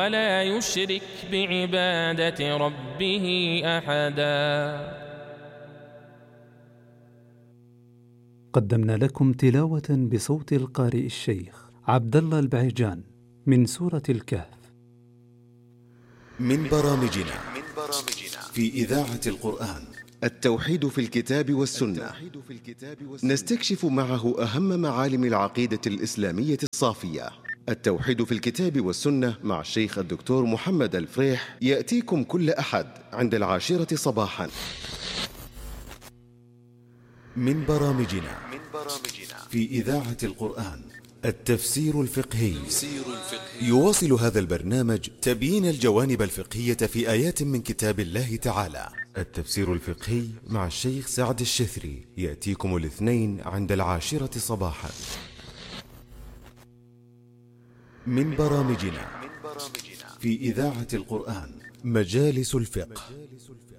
ولا يشرك بعبادة ربه أحدا. قدمنا لكم تلاوة بصوت القارئ الشيخ عبد الله البعيجان من سورة الكهف. من برامجنا في إذاعة القرآن التوحيد في الكتاب والسنة، نستكشف معه أهم معالم العقيدة الإسلامية الصافية. التوحيد في الكتاب والسنة مع الشيخ الدكتور محمد الفريح يأتيكم كل أحد عند 10 صباحا. من برامجنا في إذاعة القرآن التفسير الفقهي. يواصل هذا البرنامج تبيين الجوانب الفقهية في آيات من كتاب الله تعالى. التفسير الفقهي مع الشيخ سعد الشثري يأتيكم الاثنين عند 10 صباحا. من برامجنا في إذاعة القرآن مجالس الفقه،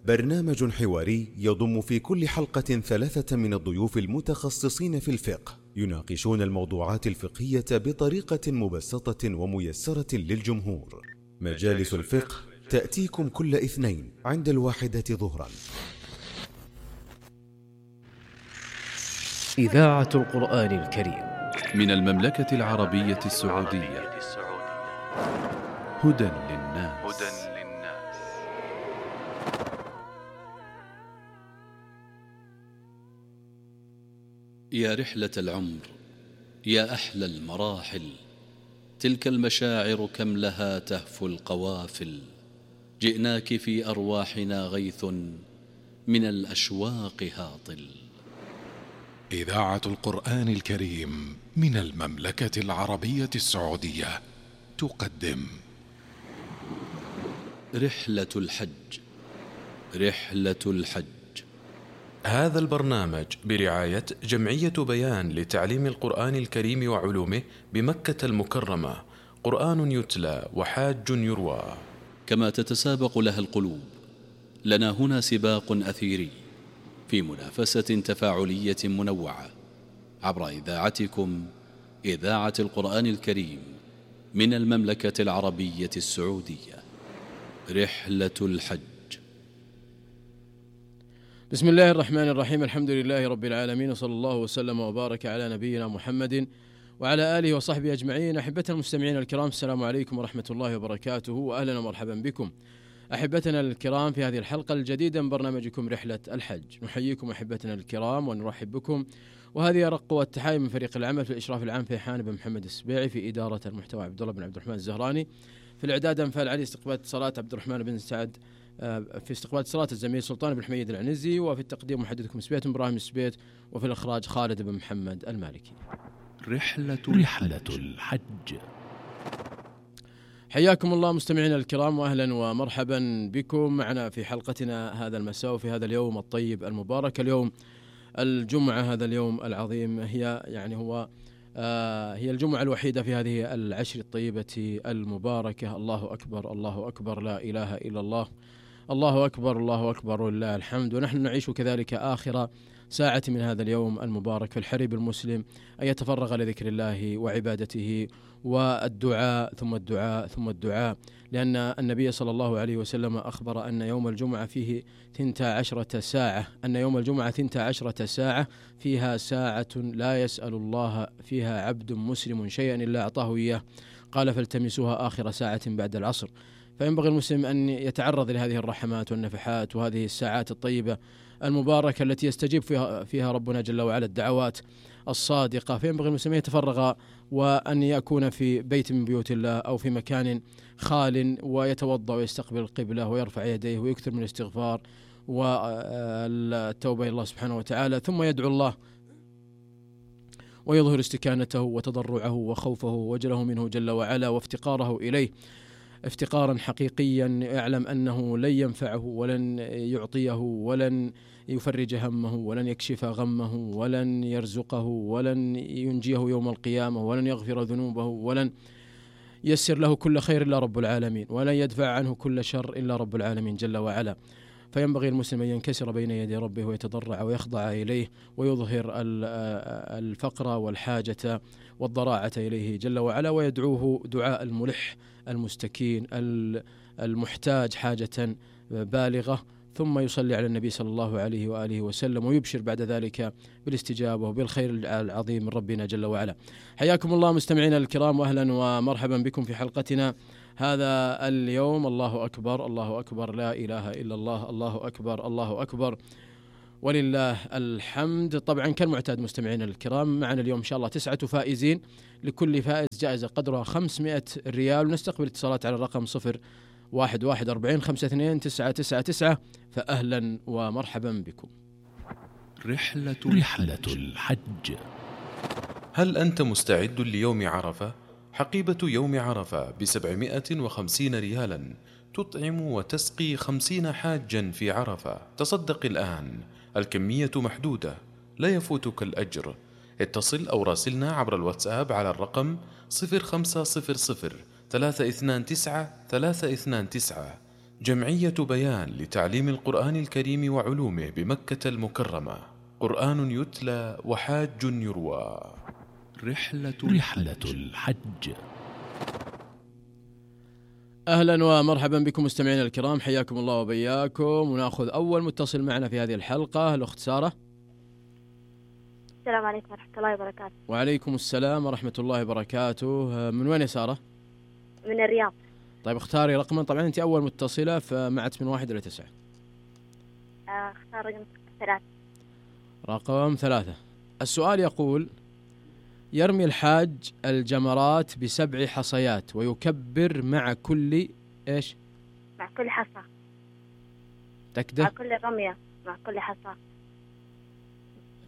برنامج حواري يضم في كل حلقة 3 من الضيوف المتخصصين في الفقه، يناقشون الموضوعات الفقهية بطريقة مبسطة وميسرة للجمهور. مجالس الفقه تأتيكم كل اثنين عند 1 ظهرا. إذاعة القرآن الكريم من المملكة العربية السعودية. هدى للناس. يا رحلة العمر، يا أحلى المراحل، تلك المشاعر كم لها تهفو القوافل. جئناك في أرواحنا غيث من الأشواق هاطل. إذاعة القرآن الكريم من المملكة العربية السعودية تقدم رحلة الحج. رحلة الحج. هذا البرنامج برعاية جمعية بيان لتعليم القرآن الكريم وعلومه بمكة المكرمة. قرآن يتلى وحاج يروى. كما تتسابق لها القلوب، لنا هنا سباق أثيري في منافسة تفاعلية منوعة عبر إذاعتكم إذاعة القرآن الكريم من المملكة العربية السعودية. رحلة الحج. بسم الله الرحمن الرحيم. الحمد لله رب العالمين، وصلى الله وسلم وبارك على نبينا محمد وعلى آله وصحبه أجمعين. أحبتنا المستمعين الكرام، السلام عليكم ورحمة الله وبركاته، وأهلا ومرحبا بكم أحبتنا الكرام في هذه الحلقة الجديدة من برنامجكم رحلة الحج. نحييكم أحبتنا الكرام ونرحب بكم، وهذه أرق والتحايا من فريق العمل في الإشراف العام فيحان بن محمد السبيعي، في إدارة المحتوى عبد الله بن عبد الرحمن الزهراني، في الإعداد أنفال علي، استقبال اتصالات عبد الرحمن بن سعد، في استقبال اتصالات الزميل سلطان بن حميد العنزي، وفي التقديم محدثكم سبيت إبراهيم السبيت، وفي الإخراج خالد بن محمد المالكي. رحلة الحج. حياكم الله مستمعينا الكرام، وأهلا ومرحبا بكم معنا في حلقتنا هذا المساء وفي هذا اليوم الطيب المبارك، اليوم الجمعة، هذا اليوم العظيم. هي هي الجمعة الوحيدة في هذه العشر الطيبة المباركة. الله أكبر، الله أكبر، لا إله إلا الله، الله أكبر، الله أكبر ولله الحمد. ونحن نعيش كذلك آخر ساعة من هذا اليوم المبارك، في الحري بالمسلم أن يتفرغ لذكر الله وعبادته والدعاء ثم الدعاء ثم الدعاء، لأن النبي صلى الله عليه وسلم أخبر أن يوم الجمعة فيه 12 ساعة، أن يوم الجمعة 12 ساعة فيها ساعة لا يسأل الله فيها عبد مسلم شيئا إلا أعطاه إياه. قال فالتمسوها آخر ساعة بعد العصر. فينبغي المسلم أن يتعرض لهذه الرحمات والنفحات وهذه الساعات الطيبة المباركة التي يستجيب فيها ربنا جل وعلا الدعوات الصادقة. فينبغي المسلم يتفرغ وأن يكون في بيت من بيوت الله أو في مكان خال، ويتوضأ ويستقبل القبلة ويرفع يديه ويكثر من الاستغفار والتوبة إلى الله سبحانه وتعالى، ثم يدعو الله ويظهر استكانته وتضرعه وخوفه ووجله منه جل وعلا وافتقاره إليه افتقارا حقيقيا، يعلم أنه لن ينفعه ولن يعطيه ولن يفرج همه ولن يكشف غمه ولن يرزقه ولن ينجيه يوم القيامة ولن يغفر ذنوبه ولن يسر له كل خير إلا رب العالمين، ولن يدفع عنه كل شر إلا رب العالمين جل وعلا. فينبغي المسلم أن ينكسر بين يدي ربه ويتضرع ويخضع إليه ويظهر الفقر والحاجة والضراعة إليه جل وعلا، ويدعوه دعاء الملح المستكين المحتاج حاجة بالغة، ثم يصلي على النبي صلى الله عليه وآله وسلم ويبشر بعد ذلك بالاستجابة وبالخير العظيم من ربنا جل وعلا. حياكم الله مستمعينا الكرام، وأهلا ومرحبا بكم في حلقتنا هذا اليوم. الله أكبر، الله أكبر، لا إله إلا الله، الله أكبر، الله أكبر، ولله الحمد. طبعا كالمعتاد مستمعينا الكرام، معنا اليوم إن شاء الله 9 فائزين، لكل فائز جائزة قدرها 500 ريال، ونستقبل اتصالات على الرقم 0114529999. فأهلا ومرحبا بكم. رحلة الحج. هل أنت مستعد ليوم عرفة؟ حقيبة يوم عرفة ب750 ريالا تطعم وتسقي 50 حاجا في عرفة. تصدق الآن، الكمية محدودة، لا يفوتك الأجر. اتصل أو راسلنا عبر الواتساب على الرقم 0500-329-329. جمعية بيان لتعليم القرآن الكريم وعلومه بمكة المكرمة. قرآن يتلى وحاج يروى. رحلة الحج. أهلا ومرحبا بكم مستمعينا الكرام، حياكم الله وبياكم. ونأخذ أول متصل معنا في هذه الحلقة، الأخت سارة. السلام عليكم ورحمة الله وبركاته. وعليكم السلام ورحمة الله وبركاته. من وين يا سارة؟ من الرياض. طيب اختاري رقما، طبعا أنت أول متصلة فمعت من 1 إلى 9. اختار رقم 3. رقم 3. السؤال يقول: يرمي الحاج الجمرات ب7 حصيات ويكبر مع كل إيش؟ مع كل حصى. تكده؟ مع كل رمية، مع كل حصى.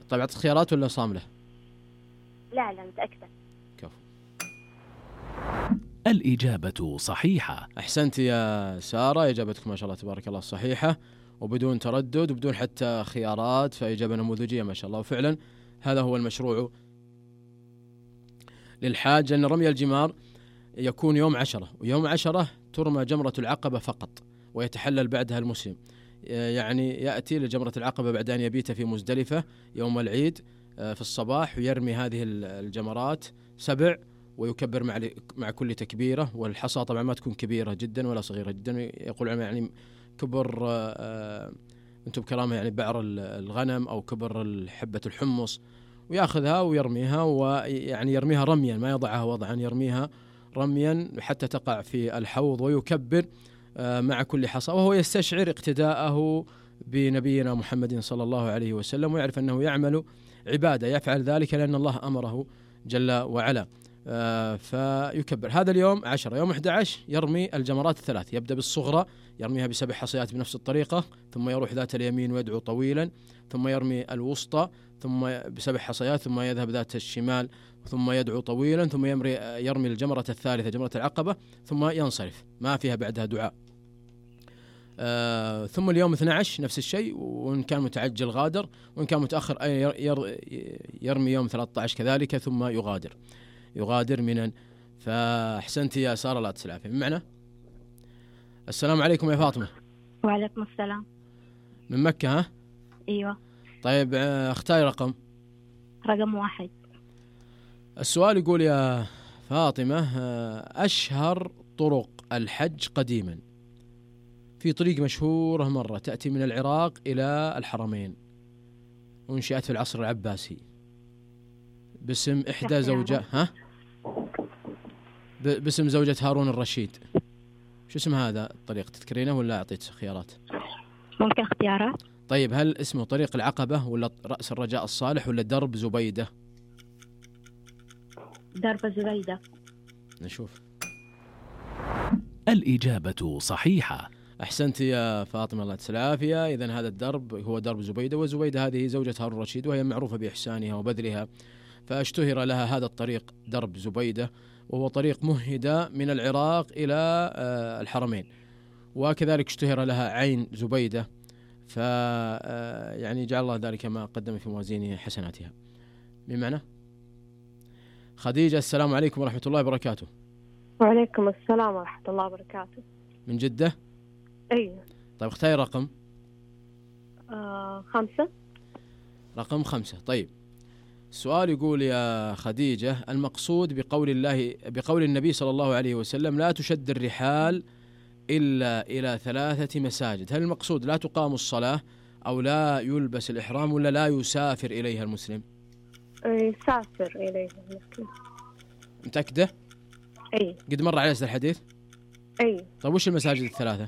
طيب أعطت خيارات ولا صاملة؟ لا متأكدة. كفو. الإجابة صحيحة. أحسنت يا سارة، إجابتك ما شاء الله تبارك الله صحيحة، وبدون تردد وبدون حتى خيارات، فإجابة نموذجية ما شاء الله. وفعلا هذا هو المشروع للحاج، أن رمي الجمار يكون يوم 10، ويوم 10 ترمى جمرة العقبة فقط، ويتحلل بعدها المسلم. يعني يأتي لجمرة العقبة بعد أن يبيت في مزدلفة يوم العيد في الصباح، ويرمي هذه الجمرات 7 ويكبر مع كل تكبيرة. والحصى طبعا ما تكون كبيرة جدا ولا صغيرة جدا، يقول يعني كبر أنتم بكرامة يعني بعر الغنم أو كبر حبة الحمص، ويأخذها ويرميها، ويعني يرميها رميا، ما يضعها وضعا، يرميها رميا حتى تقع في الحوض، ويكبر مع كل حصى، وهو يستشعر اقتداءه بنبينا محمد صلى الله عليه وسلم، ويعرف أنه يعمل عبادة، يفعل ذلك لأن الله أمره جل وعلا. فيكبر. هذا اليوم 10. يوم 11 يرمي الجمرات 3، يبدأ بالصغرى يرميها ب7 حصيات بنفس الطريقة، ثم يروح ذات اليمين ويدعو طويلا، ثم يرمي الوسطى ثم ب7 حصيات، ثم يذهب ذات الشمال ثم يدعو طويلا، ثم يرمي الجمرة الثالثة جمرة العقبة، ثم ينصرف، ما فيها بعدها دعاء. ثم اليوم 12 نفس الشيء، وإن كان متعجل غادر، وإن كان متأخر يرمي يوم 13 كذلك، ثم يغادر منا. فأحسنت يا سارة، لا تسلعفي من معنا. السلام عليكم يا فاطمة. وعليكم السلام. من مكة ها؟ أيوة. طيب اختاري رقم 1. السؤال يقول يا فاطمة: أشهر طرق الحج قديما، في طريق مشهورة مرة تأتي من العراق إلى الحرمين، وانشأت في العصر العباسي باسم إحدى باسم زوجة هارون الرشيد. شو اسم هذا الطريق، تذكرينه ولا أعطيت خيارات؟ ممكن اختيارات. طيب هل اسمه طريق العقبة ولا رأس الرجاء الصالح ولا درب زبيدة؟ درب زبيدة. نشوف. الإجابة صحيحة. أحسنت يا فاطمة، الله يجزاك العافية. إذن هذا الدرب هو درب زبيدة، وزبيدة هذه زوجة هارون الرشيد، وهي معروفة بإحسانها وبذلها، فاشتهر لها هذا الطريق درب زبيدة، وهو طريق مهدى من العراق إلى الحرمين. وكذلك اشتهر لها عين زبيدة، يعني جعل الله ذلك ما قدم في موازين حسناتها. بمعنى خديجة، السلام عليكم ورحمة الله وبركاته. وعليكم السلام ورحمة الله وبركاته. من جدة؟ أيوة. طيب اختاري رقم 5. رقم 5. طيب السؤال يقول يا خديجة: المقصود بقول النبي صلى الله عليه وسلم لا تشد الرحال إلا إلى 3 مساجد، هل المقصود لا تقام الصلاة أو لا يلبس الإحرام ولا لا يسافر إليها المسلم؟ يسافر إليها المسلم. متأكدة؟ أي. قد مر على الحديث؟ أي. طيب وش المساجد ال3؟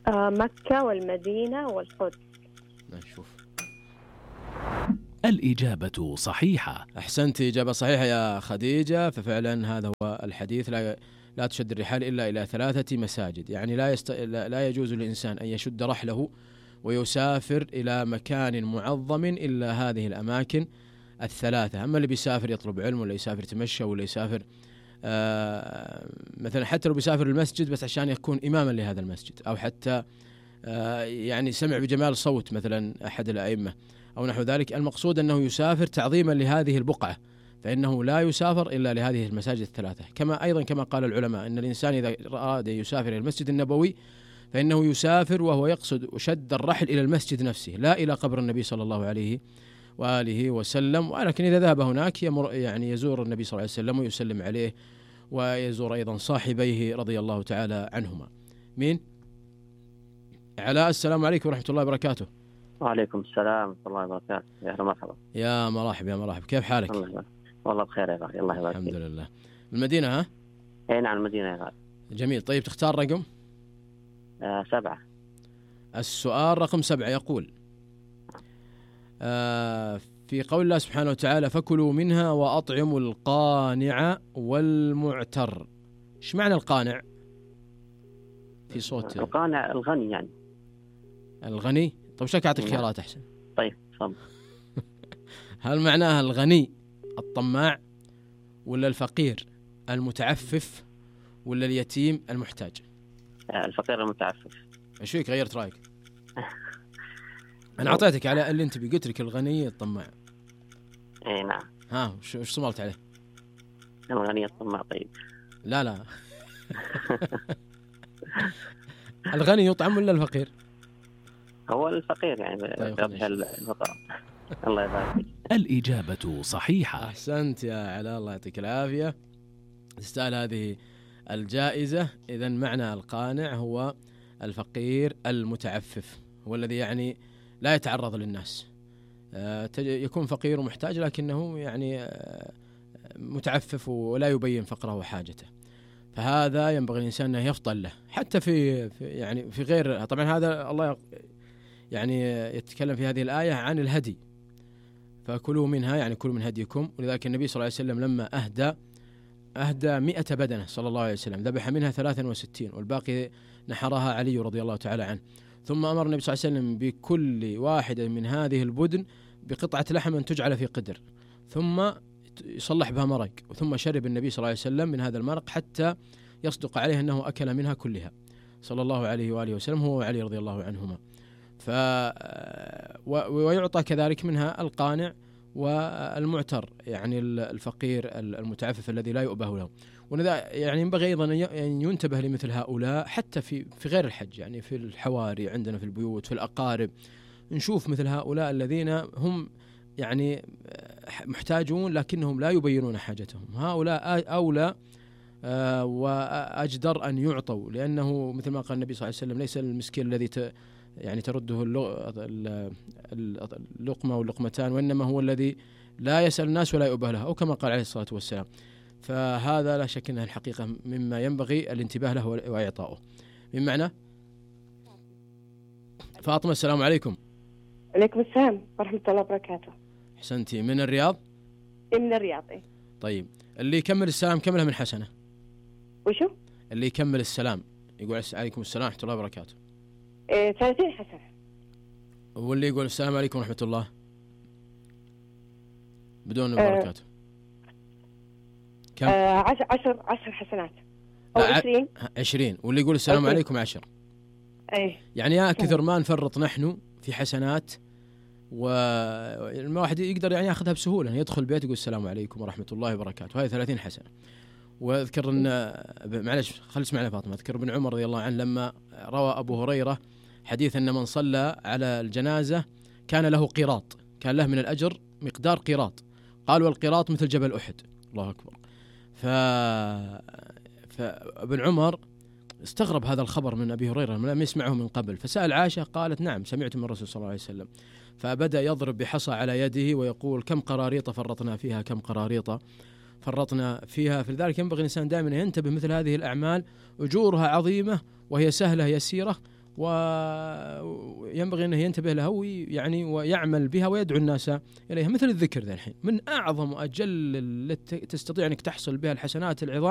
مكة والمدينة والقدس. نشوف. الإجابة صحيحة. أحسنت، إجابة صحيحة يا خديجة. ففعلا هذا هو الحديث، لا تشد الرحال إلا إلى 3 مساجد، يعني لا يجوز للإنسان أن يشد رحله ويسافر إلى مكان معظم إلا هذه الأماكن ال3. أما اللي بيسافر يطلب علم ولا يسافر تمشى ولا يسافر مثلا حتى لو بيسافر المسجد بس عشان يكون إماما لهذا المسجد، أو حتى يعني سمع بجمال صوت مثلا أحد الأئمة أو نحو ذلك، المقصود أنه يسافر تعظيما لهذه البقعة، فإنه لا يسافر إلا لهذه المساجد ال3. كما قال العلماء أن الإنسان إذا أراد يسافر إلى المسجد النبوي فإنه يسافر وهو يقصد شد الرحل إلى المسجد نفسه لا إلى قبر النبي صلى الله عليه وآله وسلم. ولكن إذا ذهب هناك يعني يزور النبي صلى الله عليه وسلم ويسلم عليه، ويزور أيضا صاحبيه رضي الله تعالى عنهما. مين؟ علاء، السلام عليكم ورحمة الله وبركاته. وعليكم السلام ورحمة الله وبركاته. يا أهلا مرحبا. يا مرحبا يا مرحبا، كيف حالك؟ والله بخير يا أخي، الله يبارك فيك. الحمد لله. المدينة ها؟ أي نعم المدينة يا أخي. جميل. طيب تختار رقم؟ 7. السؤال رقم 7 يقول في قول الله سبحانه وتعالى: فكلوا منها وأطعموا القانع والمعتر. ايش معنى القانع؟ في صوت القانع الغني يعني. الغني؟ طيب شك أعطيك خيارات أحسن. طيب تفضل. هل معناها الغني الطماع ولا الفقير المتعفف ولا اليتيم المحتاج؟ الفقير المتعفف. ايش فيك غيرت رايك؟ انا اعطيتك على اللي انت قلت لك الغني الطماع. اي نعم. ها وش صملت عليه؟ الغني الطماع. طيب لا الغني يطعم ولا الفقير؟ هو الفقير يعني. طيب الفقراء. الله يبارك فيك. الإجابة صحيحة. أحسنت يا علاء، الله يعطيك العافية، تستاهل هذه الجائزة. إذن معنى القانع هو الفقير المتعفف، هو الذي يعني لا يتعرض للناس، يكون فقير ومحتاج لكنه يعني متعفف ولا يبين فقره وحاجته. فهذا ينبغي الإنسان أن يفطن له حتى في يعني في غير. طبعا هذا الله يعني يتكلم في هذه الآية عن الهدي، فكلوا منها يعني كلوا من هديكم. ولذلك النبي صلى الله عليه وسلم لما أهدى 100 بدنة صلى الله عليه وسلم، ذبح منها 63 والباقي نحرها علي رضي الله تعالى عنه. ثم أمر النبي صلى الله عليه وسلم بكل واحدة من هذه البدن بقطعة لحم تجعل في قدر، ثم يصلح بها مرق، ثم شرب النبي صلى الله عليه وسلم من هذا المرق حتى يصدق عليه أنه أكل منها كلها صلى الله عليه وآله وسلم، هو وعلي رضي الله عنهما. ويعطى كذلك منها القانع والمعتر، يعني الفقير المتعفف الذي لا يؤبه له. ولذا يعني ينبغي أيضا أن ينتبه لمثل هؤلاء حتى في غير الحج، يعني في الحواري عندنا في البيوت في الأقارب، نشوف مثل هؤلاء الذين هم يعني محتاجون لكنهم لا يبينون حاجتهم. هؤلاء أولى وأجدر أن يعطوا، لأنه مثل ما قال النبي صلى الله عليه وسلم: ليس المسكين الذي يعني ترده اللقمة واللقمتان، وإنما هو الذي لا يسأل الناس ولا يؤبه له، أو كما قال عليه الصلاة والسلام. فهذا لا شك أنها الحقيقة مما ينبغي الانتباه له وإعطائه. من معنى فاطمة، السلام عليكم. عليكم السلام ورحمة الله وبركاته. حسنتي. من الرياض؟ من الرياض. طيب اللي يكمل السلام كم له من حسنة؟ وشو؟ اللي يكمل السلام يقول عليكم السلام ورحمة الله وبركاته 30 حسنة. واللي يقول السلام عليكم ورحمة الله بدون بركاته كم؟ 10 حسنات أو 20. 20. واللي يقول السلام عليكم 10. أي يعني يا كثر ما نفرط نحن في حسنات، والواحد يقدر يعني ياخذها بسهولة، يدخل بيت يقول السلام عليكم ورحمة الله وبركاته، هاي 30 حسنة. واذكر ان معلش خلص معنا فاطمة، اذكر ابن عمر رضي الله عنه لما روى ابو هريرة حديث أن من صلى على الجنازة كان له قيراط، كان له من الأجر مقدار قيراط. قال والقيراط مثل جبل أحد. الله أكبر. فابن عمر استغرب هذا الخبر من أبي هريرة، لم يسمعه من قبل، فسأل عائشة قالت نعم سمعت من الرسول صلى الله عليه وسلم. فبدأ يضرب بحصى على يده ويقول كم قراريط فرطنا فيها، كم قراريط فرطنا فيها. فلذلك ينبغي الإنسان دائما ينتبه، مثل هذه الأعمال أجورها عظيمة وهي سهلة يسيرة، وينبغي أنه ينتبه لها ويعني ويعمل بها ويدعو الناس إليها. مثل الذكر ذا الحين من أعظم وأجل التي تستطيع أنك تحصل بها الحسنات العظام